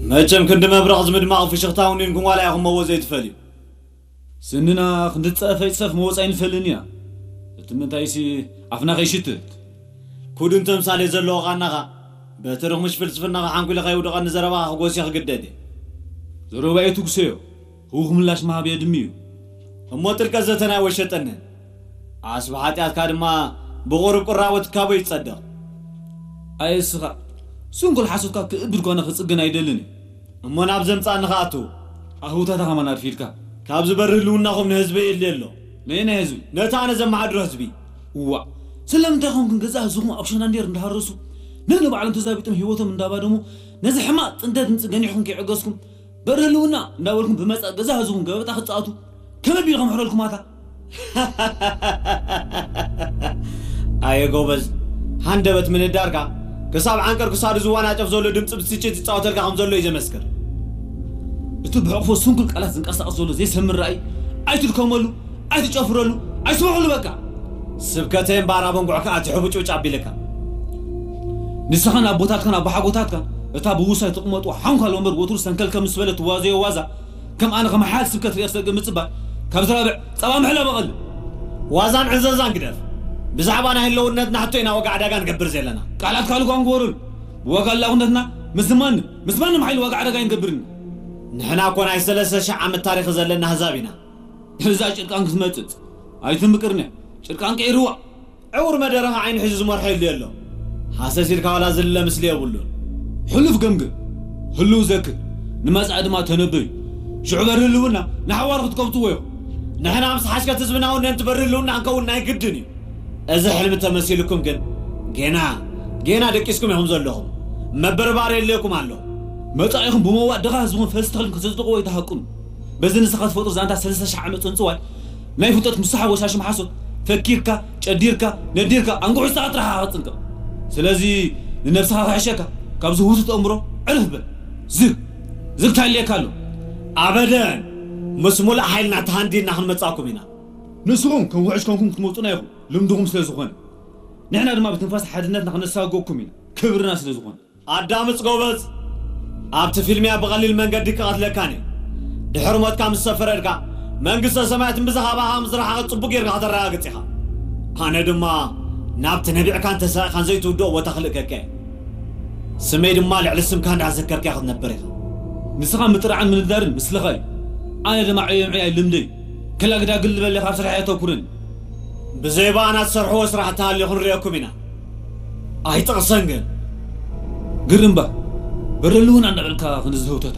መቸም ክንዲ መብረቕ ዝምድማቕ ፍሽኽታ ውኒንኩም ዋላ ኢኹም መዎ ዘይትፈልዩ። ስንና ክንዲ ጸፈይ ጸፍ መወጻ ኣይንፈልን እያ። እቲ ምንታይሲ ኣፍና ከይሽትት። ኩድን ተምሳሌ ዘለዎ ቓናኻ በትርኽ ምሽ ፍልስፍናኻ ሓንኩለ ከይውድቐኒ ዘረባኻ ክጎሲ ክግደድ እየ። ዘረባይ ትጉሰዮ። ህውኽ ምላሽ ምሃብ የድሚ እዩ። እሞ ጥልቀት ዘተና ወሸጠንን። ዓስቢ ሓጢኣትካ ድማ ብቑሩብ ቁራቦ ትካቦ ይጸደቕ። ኣየስኻ ስንኩል ሓሶትካ ክእብድ ኮነ ክጽግን ኣይደልን እዩ። እሞ ናብ ዘምጻእኒ ከኣቱ። ኣህውታታ ከማን ኣርፊድካ። ካብ ዝበርህ ህልውናኹም ንህዝቢ የድልየ ኣሎ። ነየናይ ህዝቢ? ነቲ ኣነ ዘመሓድሮ ህዝቢ። እዋ ስለምንታይ ኾንኩም ገዛ ህዝኹም ኣብ ሸናንዴር እንዳሃረሱ ነንባዕሎም ተዛቢጦም ህይወቶም እንዳባደሙ ነዚ ሕማቕ ጥንተት ምጽገን ኢኹም ከይዕገዝኩም በሪ ህልውና እንዳበልኩም ብመጻእ ገዛ ህዝቡን ገበጣ ክጻወቱ ከመይ ቢሉ ከምሕረልኩም ኣታ? ኣየ ጎበዝ፣ ሃንደበት ምንዳርካ ክሳብ ዓንቀር ክሳዱ ዝዋናጨፍ ዘሎ ድምፂ ብስጭት ይፃወተልካ ከም ዘሎ እዩ ዘመስክር። እቲ ብሕቕፎ ስንኩል ቃላት ዝንቀሳቐስ ዘሎ ዘይሰምር ራእይ ኣይትድከመሉ፣ ኣይትጨፍረሉ፣ ኣይስምዐሉ በቃ። ስብከተይ እምበኣር ኣበንጉዕካ ኣቲ ሕቡጭውጭ ኣቢልካ። ንስኻን ኣቦታትካን ኣባሓጎታትካን እታ ብውሳይ ትቕመጡ ሓንኳል ወንበር ወትሩ ሰንከል ከም ምስ በለ ትዋዘዮ ዋዛ ከም ኣነ ከም ሓያል ስብከት ርእየ ክሰግእ ምጽባይ ካብ ዝራብዕ ጸባ ምሕላ በቐል። ዋዛን ዕዘዛን ግደፍ። ብዛዕባ ናይ ህልውነትና ሕቶ ኢና ዋጋ ዕዳጋ ንገብር ዘለና። ቃላት ካልእ ኳን ግበሩን። ብዋጋ ኣላውነትና ምስ ማንም ምስ ማንም ሓይሊ ዋጋ ዕዳጋ ኣይንገብርን። ንሕና እኮ ናይ ሰለስተ ሺሕ ዓመት ታሪኽ ዘለና ኣህዛብ ኢና። እዛ ጭርቃን ክትመጽጽ ኣይትምቅርነ። ጭርቃን ቀይርዋ። ዕውር መደረኻ ዓይኑ ሒዙ ዝመርሖ የድልዮ ኣሎ። ሃሰስ ኢልካ ዋላ ዝልለ ምስሊ የብሉን። ሕሉፍ ገምግም፣ ህልው ዘክር፣ ንመጻኢ ድማ ተነበዩ። ሽዑ በሪ ህልውና ንሓዋሩ ክትከብትዎ ኢኹም። ንሕና ምስ ሓሽከት ህዝብና እውን ነንቲ በሪ ህልውና ክንከውን ናይ ግድን እዩ። እዚ ሕልሚ ተመሲልኩም ግን ጌና ጌና ደቂስኩም ኢኹም ዘለኹም። መበርባሪ የድልየኩም ኣሎ። መጻኢኹም ብመዋእ ድኻ ህዝብኹም ፈልሲ ተኽልን ከተጽድቕዎ ኣይትሃቅኑ። በዚ ንስኻ ትፈጥሮ ዛንታ ሰለስተ ሽሕ ዓመት ጽንጽዋይ ናይ ፍልጠት ምሳሓ ወሻሽም ሓሶት ፈኪርካ ጨዲርካ ነዲርካ ኣንጉሑ ስኻ ጥራሕ ኢኻ ክትጽንቀቕ። ስለዚ ንነብስኻ ክሕሸካ ካብዚ ህውትት ኣእምሮ ዕርፍ በል። ዝግ ዝግ ታይልየካ ኣሎ። ኣበደን ምስ ሙሉእ ሓይልና ተሃንዲድና ክንመጻኩም ኢና። ንስኹም ከም ውሕጅ ኮንኩም ክትመጹና ኢኹም ልምድኹም ስለ ዝኾነ፣ ንሕና ድማ ብትንፋስ ሓድነትና ክነሳግወኩም ኢና ክብርና ስለ ዝኾነ። ኣዳምጽ ጎበዝ፣ ኣብቲ ፊልምያ ብቐሊል መንገዲ ክቐትለካን እዩ። ድሕሪ ሞትካ ምስ ሰፈረድካ መንግስተ ሰማያት እምብዛ ካባኻ ከም ዝረሓቐት ጽቡቕ ጌርካ ከተረጋግጽ ኢኻ። ኣነ ድማ ናብቲ ነቢዕካን ተሳኢኻን ዘይትውድኦ ቦታ ክልእከካ እየ። ስመይ ድማ ልዕሊ ስምካ እንዳዘከርካዮ ክትነብር ኢኻ። ንስኻ ምጥራዕን ምንዳርን ምስልኻ እዩ። ኣነ ድማ ዕዮ ምዕያይ ልምደይ። ከላግዳግል ልበል ኢኻ ኣብ ስራሕ የተኩርን። ብዘይ ብኣና ትሰርሕዎ ስራሕ እንተሃልዩ ክንሪኦኩም ኢና። ኣይጠቕሰን ግን። ግርምባ በረሉ እውን ኣናበልካ ክንዝህውተታ።